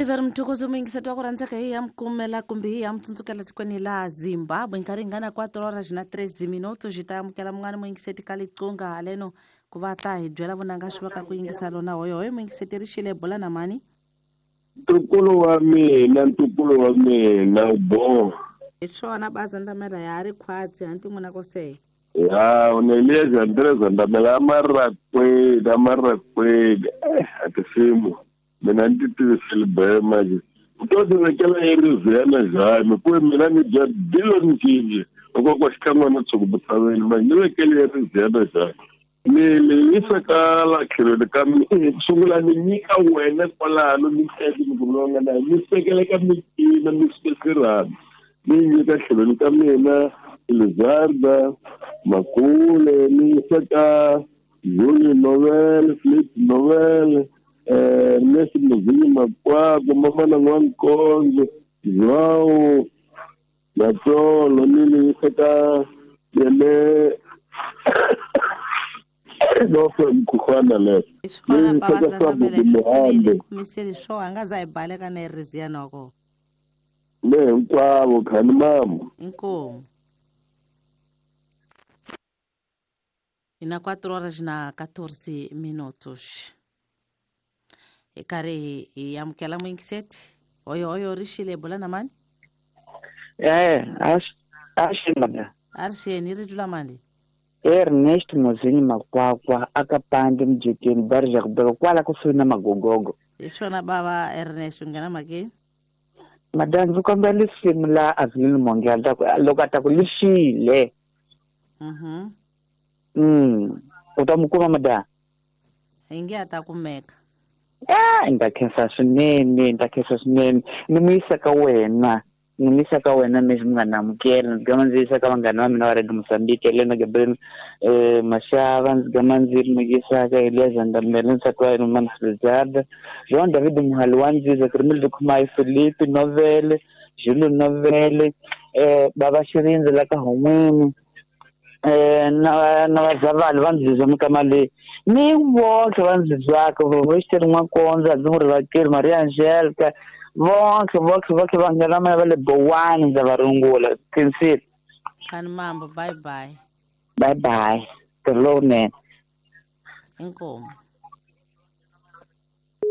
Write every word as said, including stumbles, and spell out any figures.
Oliver Mtukudzi muyingiseti wa ku rhandzeka hi ya mukumela kumbe hi ya mutsundzukela tikweni la Zimbabwe nkarhi hi nga na quatro horas na treze minutos hi ta amukela mun'wana muyingiseti ka liqunga haleno ku va ta hi byela vunanga swi va ka ku yingisa lona hoyohoyo muyingiseti ri xile bola na mani ntukulu wa mina ntukulu wa mina bo hi swona baza ndamela ya ri khwatsi hanti n'wina ko se ya unelieza Andrés ndamela amarakwedi amarakwedi eh atisimu mina ni tivisele manje u to ti vekela eriziyana njhani ku mina ni dya billion cinci loko ko xikan'wana tshuku manje ni vekele eriziyana njhani ni ni yisa ka la tlhelweni ka mina sungula ni nyika wena kwalano ni teki ni ku na ni sekele ka mitina ni swesirana ni nyika tlhelweni ka mina Lizarda Makule ni yisa ka Juli Novel Flip Novel Ernest Mzinyi Makwako mama na N'wankonzo Joao Matsolo ni ni yisa ka yele no mkhukhwana le swona baza ndamela kumiseli swo a nga za hi baleka na eriziyana wa kona le hinkwavo khani mama inkomu ina quatro horas na quatorze minutos hi karhi hi amukela muyingiseti hoyo hoyo ri xile bola na mani eh a xi a ri xeni ri tlula mani Ernest Mzinyi Makwakwa akapande mjekeni barja kubeka kwala kusuhi na magogogo hi swona bava Ernest u nghena mhakeni madam ndzi kombela lisimu la Avelino Mongela loko a ta ku lixile mhm mm u ta mu kuma madam hi nge a ta kumeka eh ni ta khensa swinene ni ta khensa swinene ni mu yisa ka wena ni mu yisa ka wena mi nga na amukela ndzi gama ndzi yisa ka vanghana va mina va Radio Mozambique Helena Gabriel eh Mashava ndzi gama ndzi mu yisa ka Elias Ndamela nsati wa yena Mana Lizarda Jean David Muhali wa Nziza Krimildo Khumai Felipe Novele Jules Novele eh Baba Xirindzi la ka Hon'wini eh na na vazavali va Nziza mikama leyi ni vonke va Nzizaka Western N'wankondza ndzi mu rivakeli Maria Angelica vonke vonke vonke vanghana va le Bowani ndza va rungula khensile khani mambo bye bye bye bye ntirho lowunene inkomu.